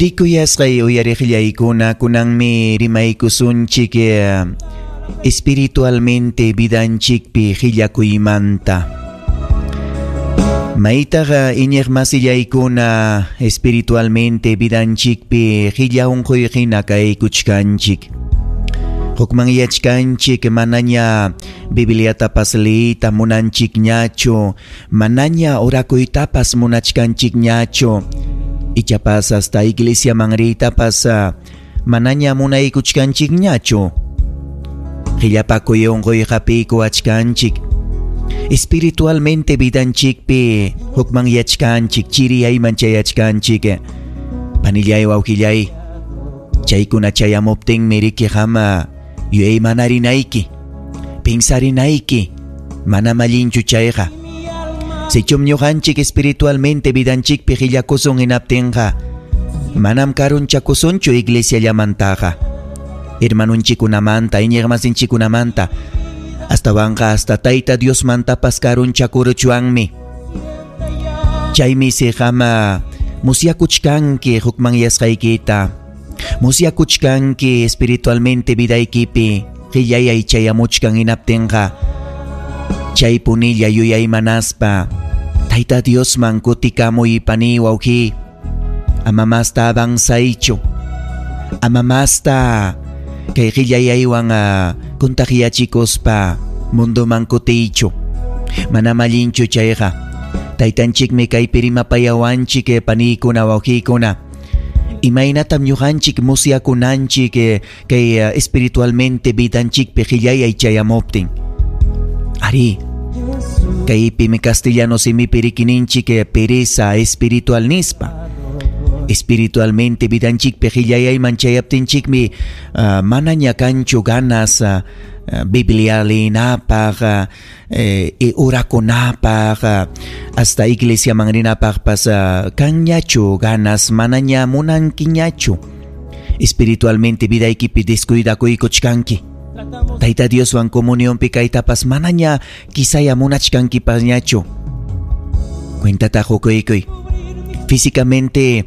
Rikuyasqay uyariqllaykuna, kunanmi rimaykusunchik espiritualmente vidanchikpi qillakuymanta. Maytaqa iñiqmasillaykuna espiritualmente vidanchikpi qilla unquy hina kaykuchkanchik. Hukmanyachkanchik manaña Bibliatapas liyta munanchikñachu, manaña orakuytapas munachkanchikñachu. Ichapas hasta iglesiaman riytapas manaña munaykuchkanchikñachu. Qillapakuy unquy hapiykuwachkanchik. Espiritualmente vidanchikpi hukmanyachkanchik, chiriyayman chayachkanchik. Panillay wawqillay, chaykuna chayamuptinmi riki qam yuyaymanarinayki, pinsarinayki, manam allinchu chayqa. Sichum ñuqanchik espiritualmente vidanchikpi qillakusun hinaptinqa, manam karunchakusunchu iglesiallamantaqa. Hermanunchikunamanta, iñiqmasinchikunamanta, astawanqa hasta Tayta Diosmantapas karunchakuruchwanmi. Chaymi si qam musyakuchkanki hukmanyasqaykita, musyakuchkanki espiritualmente vidaykipi qillayay chayamuchkan hinaptinqa, chaypunilla yuyaymanaspa Tayta Diosman kutikamuy pani wawqi. Ama masta avanzaychu, ama masta kay qillayaywan kuntaqiyachikuspa mundoman kutiychu. Manam allinchu chayqa. Taytanchikmi kaypi rimapayawanchik paniykuna wawqiykuna. Imaynatam ñuqanchik musyakunanchik kay espiritualmente vidanchikpi qillayay chayamuptin. Ari, kaypimi castellano simipi rikininchik pereza espiritual nispa. Espiritualmente vidanchikpi qillayayman chayaptinchikmi manaña kanchu ganas Biblia leenapaq, orakunapaq, hasta iglesiaman rinapaqpas kanñachu ganas, manaña munankiñachu. Espiritualmente vidaykipi descuidakuykuchkanki. Tayta Dioswan comunionpi kaytapas manaña quizaya munachkankipasñachu. Cuentata qukuykuy. Físicamente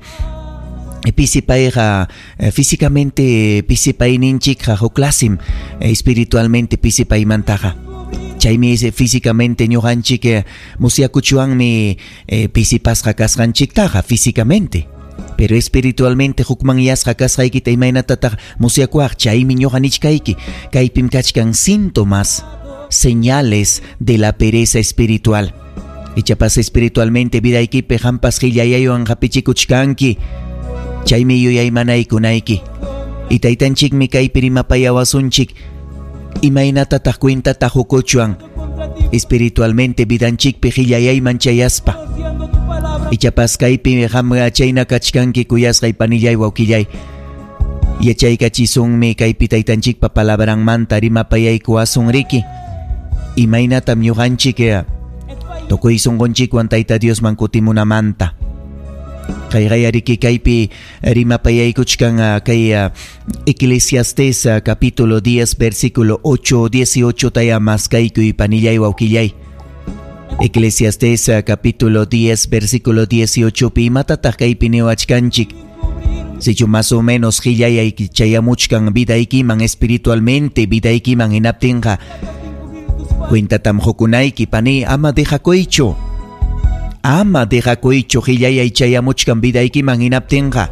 pisipayqa, físicamente pisipayninchikqa huk clasim espiritualmente pisipaymantaqa. Chaymi físicamente ñuqanchik musyakuchwanmi pisipasqa kasqanchiktaqa físicamente. Pero espiritualmente hukmanyasqa kasqaykita imaynatataq musyakuwaq, chaymi ñuqa nichkayki. Kaypim kachkan síntomas, señales de la pereza espiritual. Ichapas espiritualmente vidaykipi qampas qillayaywan hapichikuchkanki. Chaymi yuyaymanaykunayki. Y taytanchikmi kaypi rimapayawasunchik. Imaynatataq cuentata hukuchwan espiritualmente vidanchikpi qillayayman chayaspa. Ichapas kaypi qam chayna kachkanki kuyasqay panillay wawqillay. Yachaykachisunmi kaypi taytanchikpa palabranmanta rimapayaykuwasun riki. Imaynatam ñuqanchik tukuy sunqunchikwan Tayta Diosman kutimunamanta. Kayqayariki kaypi rimapayaykuchkan kay Eclesiastes capítulo 10 versículo 8 18 taya maskaykuy panillay wawqillay. Eclesiastes capítulo 10 versículo 18 pi imatataq kaypi niwachkanchik. Sichu más o menos qillayay chayamuchkan vidaykiman espiritualmente vidaykiman hinaptinqa cuentatam hukunayki pani, ama dejakuychu. Ama dejakuychu qillayay chayamuchkan vidaykiman hinaptinqa.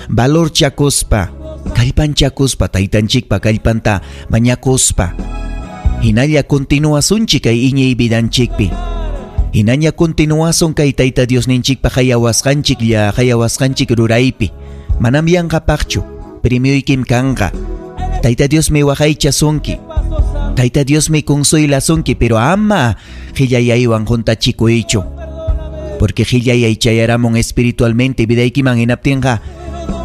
Valorchakuspa, kallpanchakuspa, taytanchikpa kallpanta mañakuspa. Hinalla continuasunchik kay iñiy vidanchikpi. Hinaña continuasun kay Tayta Diosninchikpa hayawasqanchik lla hayawasqanchik ruraypi. Manam yanqapaqchu, premioykim kanqa. Tayta Diosmi waqaychasunki. Tayta Diosmi consuelasunki, pero ama qillayaywan juntachikuychu. Porque qillayay chayaramun espiritualmente vidaykiman hinaptinqa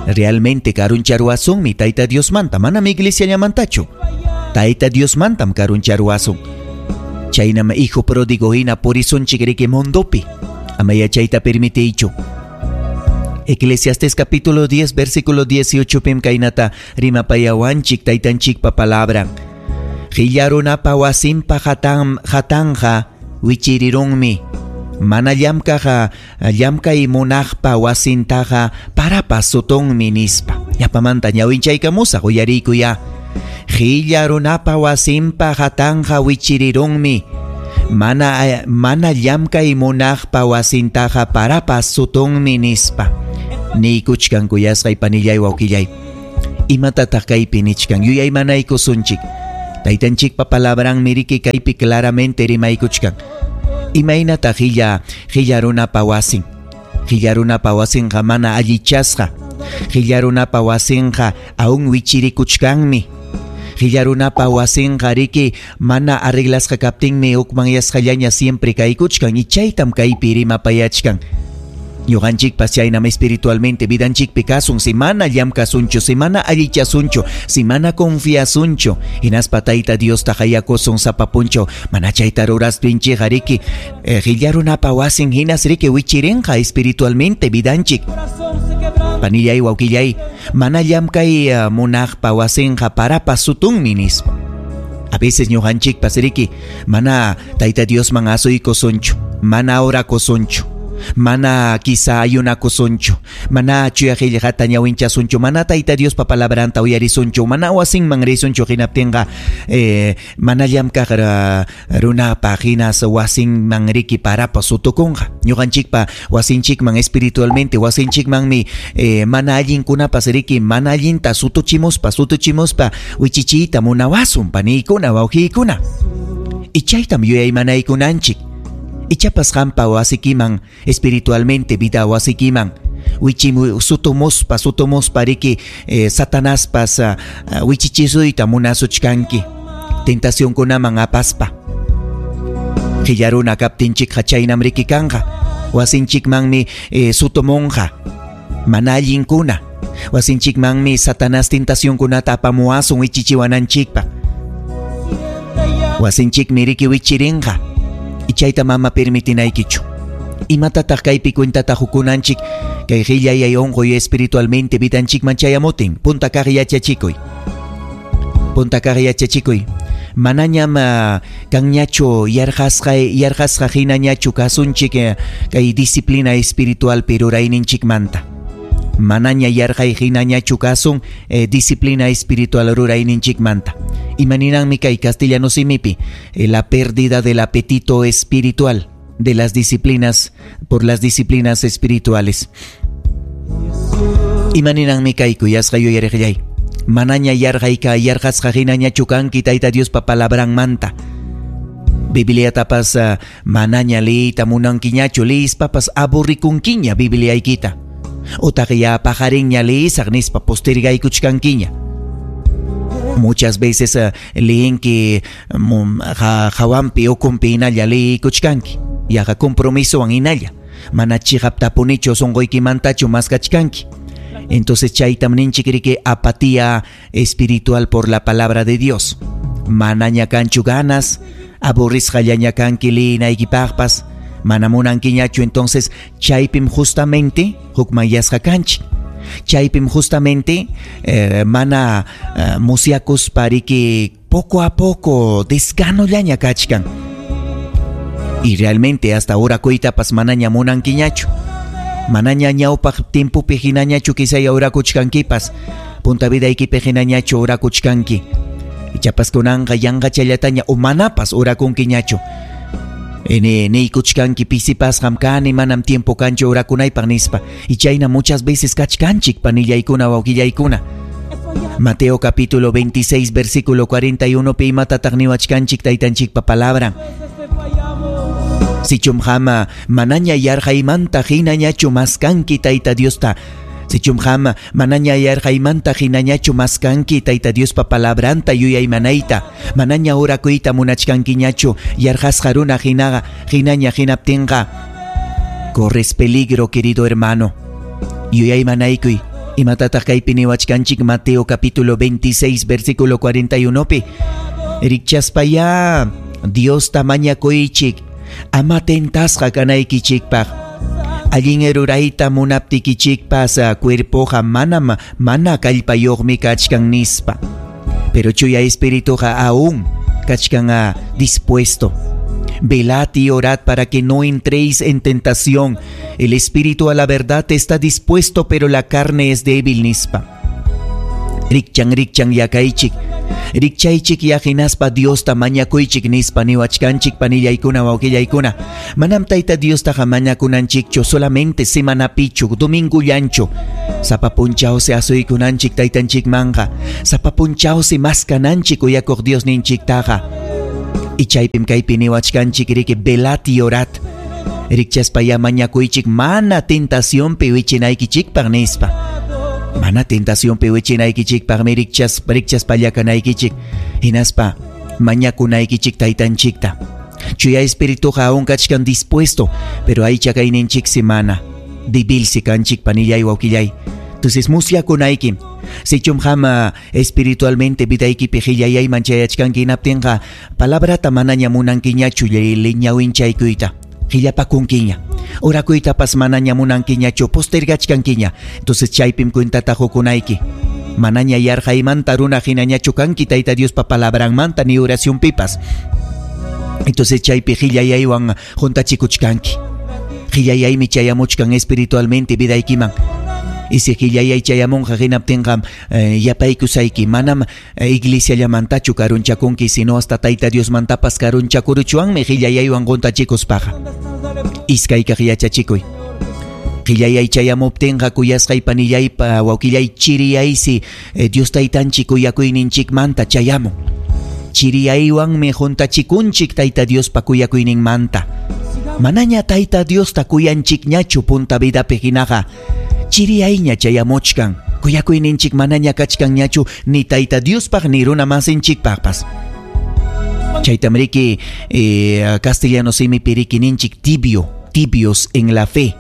realmente karuncharuwasunmi Tayta Diosmanta, manam iglesiallamantachu. Tayta Diosmantam karuncharuwasun. Chaynam hijo pródigo hina purisunchik riki mundopi. Ama yachayta permitiychu. Eclesiastes capítulo 10 versículo 18 pim kaynata rimapayawanchik taytanchikpa palabran. Qillarunapa wasinpa hatanja wichirirunmi. Mana llamkaq llamkay munaqpa wasintaqa parapas sutunmi nispa. Yapamanta ñawinchaykamusaq uyariykuya. Qilla runapa wasinpa hatanqa wichirirunmi. Mana llamkay munaqpa wasintaqa parapas sutunmi nispa. Niykuchkan kuyasqay panillay wawqillay. Imatataq kaypi nichkan yuyaymanaykusunchik. Taytanchikpa palabranmi riki kaypi claramente rimaykuchkan. Imaynataq qilla runapa wasin. Qilla runapa wasinqa mana allichasqa. Qilla runapa wasinqa aún wichirikuchkanmi. Qilla runapa wasinqa riki mana arreglasqa kaptinmi hukmanyasqallaña siempre kaykuchkan y chaytam kaypi rimapayachkan. Ñuqanchikpas chaynam espiritualmente vidanchikpi kasun si mana llamkasunchu, si mana allichasunchu, si mana confiasunchu, hinaspa Tayta Diosta hayakusun sapa punchaw, mana chayta ruraspinchikqa riki qilla runapa wasin hinas riki wichirinqa espiritualmente vidanchik. Panillay wawqillay, mana llamkay munaqpa wasinqa parapas sutunmi nispa. A veces ñuqanchikpas riki mana Tayta Diosman asuykusunchu, mana orakusunchu, mana quizá ayunakusunchu, mana chuya qillqata ñawinchasunchu, mana Tayta Diospa palabranta uyarisunchu, mana wasinman risunchu hinaptinqa mana llamkaq runapa hinas wasinman riki parapas sutukunqa. Ñuqanchikpa wasinchikman espiritualmente wasinchikmanmi mana allinkunapas riki mana allinta sutuchimuspa wichichiyta munawasun paniykuna wawqiykuna. Y chaytam yuyaymanaykunanchik. Ichapas qampa wasikiman espiritualmente vida wasikiman wichimu sutumuspa riki Satanaspas wichichisuyta munasuchkanki tentacionkunaman apaspa. Qilla runa kaptinchikqa chaynam riki kanqa wasinchikmanmi sutumunqa mana allinkuna wasinchikmanmi Satanás tentacionkunata apamuwasun wichichiwananchikpa. Wasinchikmi riki wichirinqa. Chayta mama permitinaykichu. Imatataq kaypi cuentata hukunanchik kay qillayay unquy espiritualmente vidanchikman chayamutin. Punta kaq yachachikuy. Punta kaq yachachikuy. Manañam kanñachu yarqasqa hinañachu kasunchik kay disciplina espiritualpi rurayninchikmanta. Manaña yarqay hinañachu kasun disciplina espiritual rurayninchikmanta. Imaninanmi kay castellano simipi la pérdida del apetito espiritual de las disciplinas por las disciplinas espirituales. Imaninanmi kay kuyasqa yuyariqllay. Manaña yarqayka yarqasqa hinañachu kanki Tayta Diospa palabranmanta. Bibliatapas manaña liyta munankiñachu liyispapas aburrikunkiña Bibliaykita. Utaq ya paqarinña liyisaq nispa postergaykuchkankiña. Muchas veces liyinki hawanpi ukunpi hinalla liyikuchkanki. Yaqa compromisowan hinalla. Mana chiqaptapunichu sunquykimantachu maskachkanki. Entonces chaytam ninchik riki apatía espiritual por la palabra de Dios. Manaña kanchu ganas, aburrisqallaña kanki liyinaykipaqpas. Mana munankiñachu, entonces chaypim justamente hukmanyasqa kanchik. Chaypim justamente mana musyakuspa riki poco a poco desganollaña kachkan. Y realmente hasta ahora kuytapas manaña munankiñachu. Manaña ñawpaq tiempopi hinañachu quizá orakuchkankipas. Punta vidaykipi hinañachu orakuchkanki. Ichapas kunanqa yanqachallataña o manapas orakunkiñachu. Niykuchkanki pisipasqam kani manam tiempo kanchu orakunaypaq nispa. Y chayna muchas veces kachkanchik panillaykuna wawqillaykuna. Mateo capítulo 26 versículo 41 pi imatataq niwachkanchik taytanchikpa palabra. Sichum qama manaña yarqaymanta hinañachu maskanki Tayta Diosta. Sichum qama manaña yarqaymanta hinañachu maskanki Tayta Diospa palabranta yuyaymanayta. Manaña orakuyta munachkankiñachu yarqasqa runa hinaña hinaptinqa. Corres peligro, querido hermano. Yuyaymanaykuy. Imatataq kaypi niwachkanchik Mateo capítulo 26 versículo 41 pi. Rikchaspaya Diosta mañakuychik. Ama tentasqa kanaykichikpaq. Allin rurayta munaptikichikpas cuerpoqa manam mana kallpayuqmi kachkan nispa. Pero chuya espirituqa aún kachkan dispuesto. Velad y orad para que no entréis en tentación. El espíritu a la verdad está dispuesto, pero la carne es débil, nispa. Rikchan rikchan yakaychik. Rikchaychik ya hinaspa Diosta mañakuychik nispa niwachkanchik panillaykuna wawqillaykuna. Manam Tayta Diostaqa mañakunanchikchu solamente semanapichu, domingullanchu. Sapa punchawsi asuykunanchik taytanchikmanqa. Sapa punchawsi maskananchik uyakuq Diosninchiktaqa. Y chaypim kaypi niwachkanchik riki velad y orad. Rikchaspa ya mañakuychik mana tentacionpi wichinaykichikpaq nispa. Mana tentacionpi wichinaykichikpaqmi rikchaspalla kanaykichik. Hinaspa mañakunaykichik taytanchikta. Chuya espirituqa aún kachkan dispuesto, pero aycha kayninchiksi mana. Débilsi kanchik panillay wawqillay. Entonces musyakunaykim. Sichum qam espiritualmente vidaykipi qillayayman chayachkanki hinaptinqa palabrata manaña munankiñachu ñawinchaykuyta. Qillapakunkiña. Orakuytapas manaña munankiñachu postergachkankiña. Entonces chaypim cuentata qukunayki. Manaña yarqaymanta runa hinañachu kanki Tayta Diospa palabranmanta ni oracionpipas. Entonces chaypi qillayaywan juntachikuchkanki. Qillayaymi chayamuchkan espiritualmente vidaykiman. Y si qillayay chayamunqa hinaptinqa yapaykusayki manam iglesiallamantachu karunchakunki sino hasta Tayta Diosmantapas karunchakuruchwanmi qillayaywan juntachikuspaqa. Iskaykaq yachachikuy. Qillayay chayamuptinqa kuyasqay panillaypa wawqillay chiriyaysi Dios taytanchik kuyakuyninchikmanta chayamun. Chiriyaywanmi juntachikunchik Tayta Diospa kuyakuyninmanta. Manaña Tayta Diosta kuyanchikñachu punta vidapi hinaqa. Chiriyayña chayamuchkan. Kuyakuyninchik manaña kachkanñachu ni Tayta Diospaq ni runa masinchikpaqpas. Chaytam riki castellano simipi riki ninchik tibio, tibios en la fe.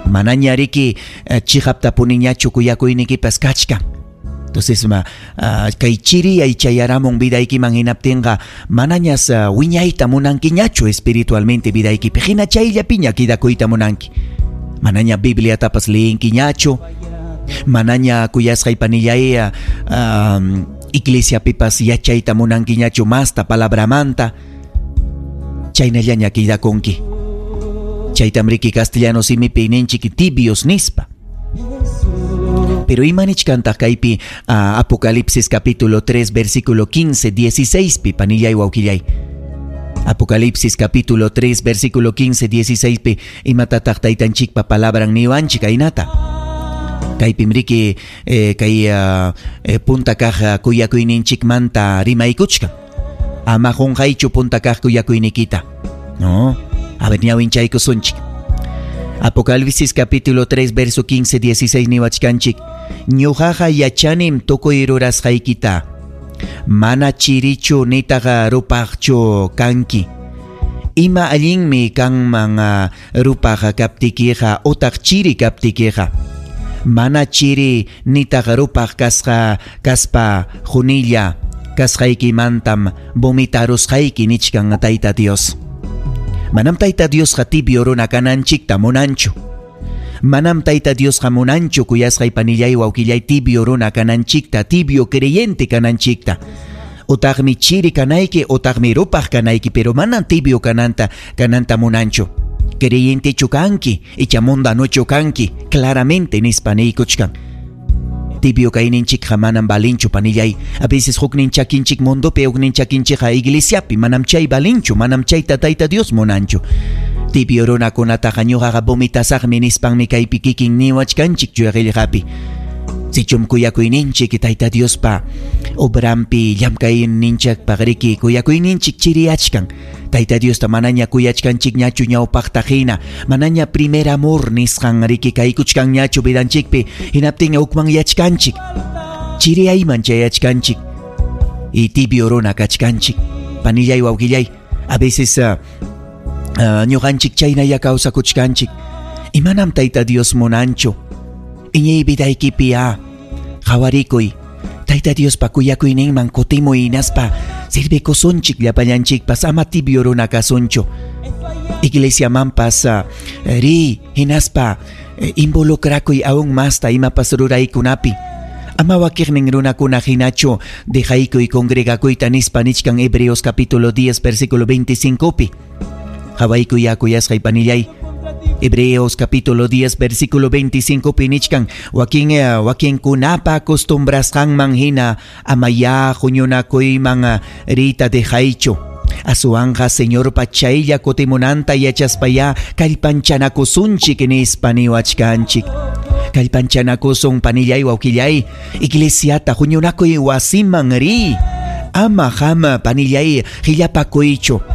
Manaña riki chiqaptapuniñachu kuyakuynikipas kachkan. Entonces kay chiriyay chayaramun vidaykiman hinaptinqa manañas wiñayta munankiñachu espiritualmente vidaykipi. Hina chayllapiña quedakuyta munanki. Manaña Bibliatapas leyinkiñachu. Manaña kuyasqay panillay iglesiapipas yachayta munankiñachu masta palabramanta. Chaynallaña quedakunki. Chaytam riki castellano simipi ninchik tibios nispa. Pero imanichkantaq kaypi Apocalipsis capítulo 3 versículo 15, 16 pi panillay wawqillay. Apocalipsis capítulo 3 versículo 15, 16 pi imatataq taytanchikpa palabran niwanchik aynata. Kaypim riki kay punta kaq kuyakuyninchikmanta rimaykuchkan. Ama qunqaychu punta kaq kuyakuynikita. No, a ver ñawinchaykusunchik. Apocalipsis capítulo 3 verso 15, 16 niwachkanchik. Ñuqaqa yachanim tukuy rurasqaykita. Mana chirichu nitaqa rupaqchu kanki. Ima allinmi kanman rupaq kaptikiqa utaq chiri kaptikiqa. Mana chiri nitaqa rupaq kaspa junilla kasqaykimantam vomitarusqayki nichkan Tayta Dios. Manam Tayta Diosqa tibio runa kananchikta munanchu. Manam Tayta Diosqa munanchu kuyasqay panillay wawqillay tibio runa kananchikta, tibio creyente kananchikta. Utaqmi chiri kanayki, utaqmi rupaq kanayki, pero manam tibio kananta munanchu. Creyentechu kanki, icha mundanochu kanki, claramente nispa niykuchkan. Tibio kayninchikqa manam valinchu panillay. A veces huknin chakinchik mundopi, huknin chakinchikqa iglesiapi, manam chay valinchu, manam chayta Tayta Dios munanchu. Tibio runakunataqa ñuqaqa vomitasaqmi nispanmi kaypi kikin niwachkanchik chuya qillqapi. Sichum kuyakuyninchik Tayta Diospa obrampi llamkayninchikpaq riki kuyakuyninchik chiriyachkan. Tayta Diosta manaña kuyachkanchikñachu ñawpaqta hina, manaña primer amor nisqan riki kaykuchkanñachu vidanchikpi, hinaptin hukmanyachkanchik. Chiriyayman chayachkanchik. Y tibio runa kachkanchik. Panillay wawqillay, a veces ñuqanchik chaynalla kawsakuchkanchik. Imanam Tayta Dios munanchu. Iñiy vidaykipi qawarikuy. Tayta Diospa kuyakuyninman kutimuy hinaspa sirvikusunchik llapallanchikpas ama tibio runa kasunchu. Iglesiamanpas riy hinaspa involucrakuy aún masta imapas ruraykunapi. Ama wakiqnin runakuna hinachu dejaykuy congregakuyta nispa nichkan Hebreos capítulo 10 versículo 25pi. Qawaykuy kuyasqay panillay. Hebreos capítulo 10 versículo 25 pi nichkan wakin wakinkunapa acostumbrasqanman hina amaya huñunakuyman riyta dejaychu. Aswanqa Señorpa chaylla kutimunanta yachaspaya kallpanchanakusunchik nispa niwachkanchik. Kallpanchanakusun panillay wawqillay, iglesiata huñunakuy wasiman riy. Ama hama panillay qillapakuychu.